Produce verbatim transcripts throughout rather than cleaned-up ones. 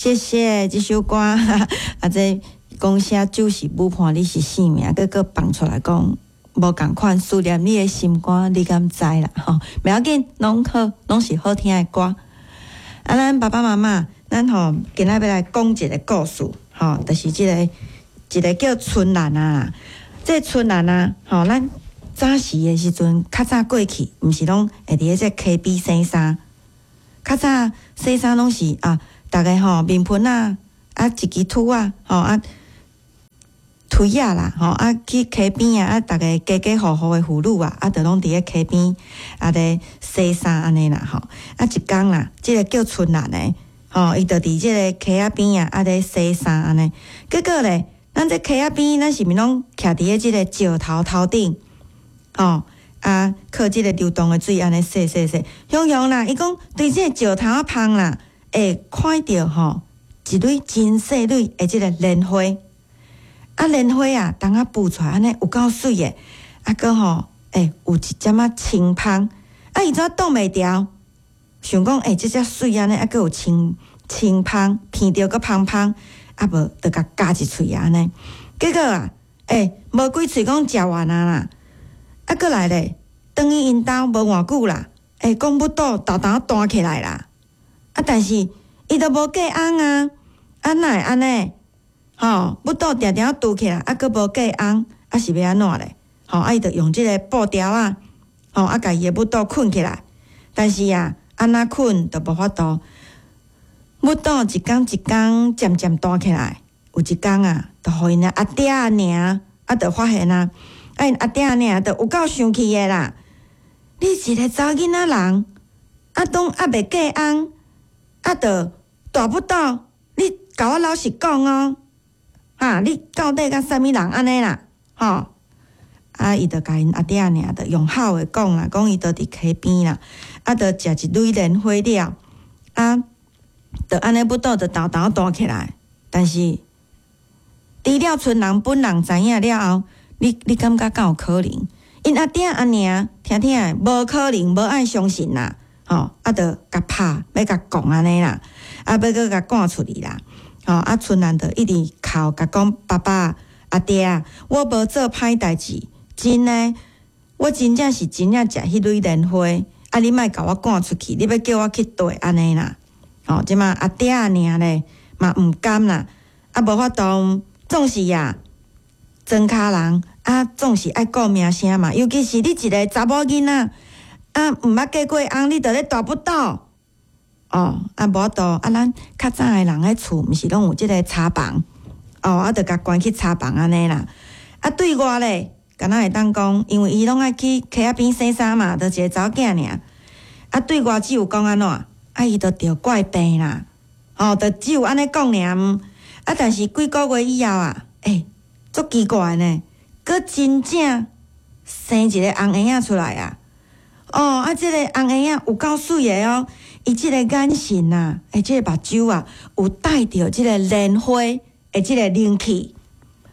謝謝這首歌，啊，這講寫酒是舞伴你是性命，閣閣放出來講無仝款，思念你的心肝，你敢知啦？吼，袂要緊，攏好，攏是好聽的歌。啊，咱爸爸媽媽，咱吼今仔欲來講一個故事，吼，就是這個一個叫春蘭啊，這個春蘭啊，吼，咱早時的時陣，較早過去，毋是攏會佇咧這溪邊洗衫，較早洗衫攏是啊，逐个吼面盆仔啊，一支禿仔吼啊，推仔啦吼啊，去溪邊啊，啊，逐个家家戶戶的婦女啊，啊，就攏佇咧溪邊啊咧洗衫按呢啦吼。啊，一工啦，這個叫春蘭的吼，伊就佇這個溪仔邊啊，啊咧洗衫按呢。結果咧，咱這溪仔邊，咱是毋是攏徛佇咧這個石頭頭頂？吼啊，靠這個流動的水按呢洗洗洗，雄雄啦，伊講對這個石頭仔縫啦，會看著吼一蕊真細蕊的這個蓮花。啊，蓮花啊，當仔浮出來按呢有夠媠的，啊，閣吼，欸，有一點仔清芳，啊，伊怎擋袂牢？想講，欸，這只媠按呢，啊，閣有清清芳，鼻著閣芳芳，啊，無就共咬一喙按呢。結果啊，欸，無幾喙講食完啊啦，啊，閣來咧，轉去𪜶兜無偌久啦，欸，講腹肚沓沓彈起來啦，啊，但是伊都無嫁翁啊，啊，哪會按呢？吼，腹肚定定拄起來，啊，閣無嫁翁，啊，是欲按怎咧？吼，啊，伊就用這個布條仔，吼，啊，共伊的腹肚睏起來。但是啊，按怎睏都無法度，腹肚一工一工漸漸彈起來，有一工啊，就予𪜶的阿爹阿娘啊，就發現啊，啊，𪜶阿爹阿娘就有夠生氣的啦。你一個查某囡仔人，啊，當猶未嫁翁，啊，就大腹肚，你共我老實講哦。啊！你到底佮啥物人按呢啦？吼！啊，伊就共𪜶阿爹阿娘就用吼的講啦，講伊就佇溪邊啦，啊，就食一蕊蓮花了，啊，就按呢腹肚就沓沓彈起來。但是，除了村人本人知影了後，你你感覺敢有可能？𪜶阿爹阿娘聽聽的，無可能，無愛相信啦，吼！啊，就共拍，欲共摃按呢啦，啊，欲閣共趕出去啦。吼！啊，春蘭就一直哭，共講爸爸、阿爹，我無做歹代誌，真的，我真正是真正食彼蕊蓮花，啊，你莫共我趕出去，你欲叫我去佗按呢啦？吼！這馬阿爹阿娘咧嘛毋甘啦，啊，無法度，總是啊，莊跤人啊，總是愛顧名聲嘛，尤其是你一個查某囡仔，啊，毋捌嫁過翁，你就咧大腹肚。哦，啊，無法度，啊，咱較早的人彼厝，毋是攏有這個柴房，哦，啊，就共關去柴房按呢啦。啊，對外咧，敢若會當講，因為伊攏愛去溪仔邊洗衫嘛，就一個查某囝爾。啊，對外只有講按怎，啊，伊就著怪病啦，吼，就只有按呢講爾。啊，但是幾個月以後啊，欸，足奇怪呢，閣真正生一個紅嬰仔出來啊！哦，啊，這個紅嬰仔有夠媠的哦。伊這個眼神啊，欸，這個目睭啊，有帶著這個蓮花的這個靈氣，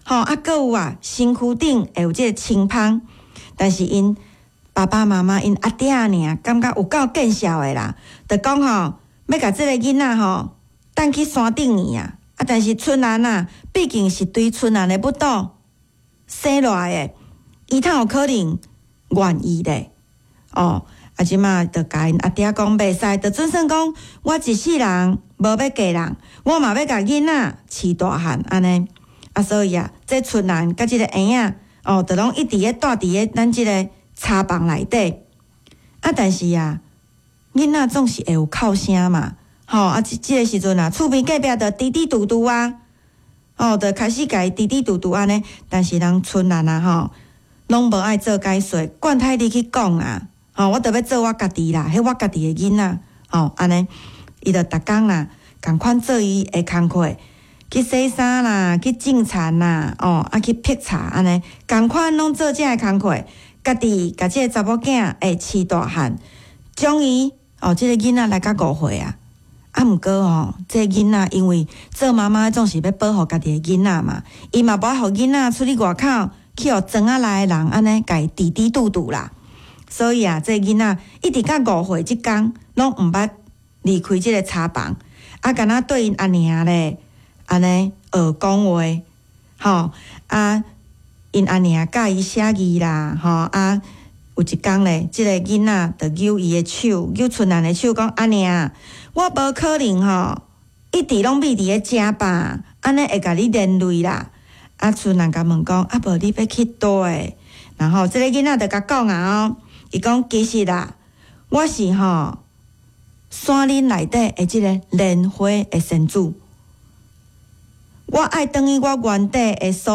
吼啊，閣有啊，身軀頂會有這個清芳，但是𪜶爸爸媽媽𪜶阿爹阿娘感覺有夠見笑的啦，就講吼，欲共這個囡仔吼，帶去山頂去啊，啊，但是春蘭啊，畢竟是對春蘭的腹肚生落來的，伊哪有可能願意咧？哦。啊，這馬就共𪜶阿爹講袂使，就準算講我一世人無欲嫁人，我嘛欲共囡仔飼大漢按呢。啊，所以啊，這春蘭佮這個嬰仔哦，就攏一直咧蹛佇咧咱這個柴房內底。啊，但是啊，囡仔總是會有哭聲嘛，吼啊，這這個時陣啊，厝邊隔壁就嘀嘀嘟嘟啊，哦，就開始共伊嘀嘀嘟嘟按呢。但是人春蘭啊，吼，攏無愛做解說，管他你去講啊。吼，我著欲做我家己啦，彼我家己的囡仔，吼，按呢，伊就逐工啦，仝款做伊的工課，去洗衫啦，去種田啦，哦，啊去辟柴按呢，仝款攏做這个工課，家己共這个查某囝會飼大漢，終於哦，這個囡仔來到五歲啊，啊，毋過吼，這個囡仔因為做媽媽總是欲保護家己的囡仔嘛，伊嘛無愛予囡仔出去外口去予莊仔內的人按呢共伊嘀嘀嘟嘟啦。所以啊，這個囡仔一直到五歲這工，攏毋捌離開這個柴房。啊，敢若對𪜶阿娘咧，按呢學講話，吼啊，𪜶阿娘教伊寫字啦，吼啊，有一工咧，這个囡仔就揪伊的手，揪春蘭的手，講阿娘，我無可能吼，一直攏覕佇咧遮吧，按呢會共你連累啦。啊，春蘭共問講，啊無你欲去佗？然後這个囡仔就共講啊哦，伊講其實啦，我是吼山林內底的這个蓮花的仙子，我愛轉去我原底的所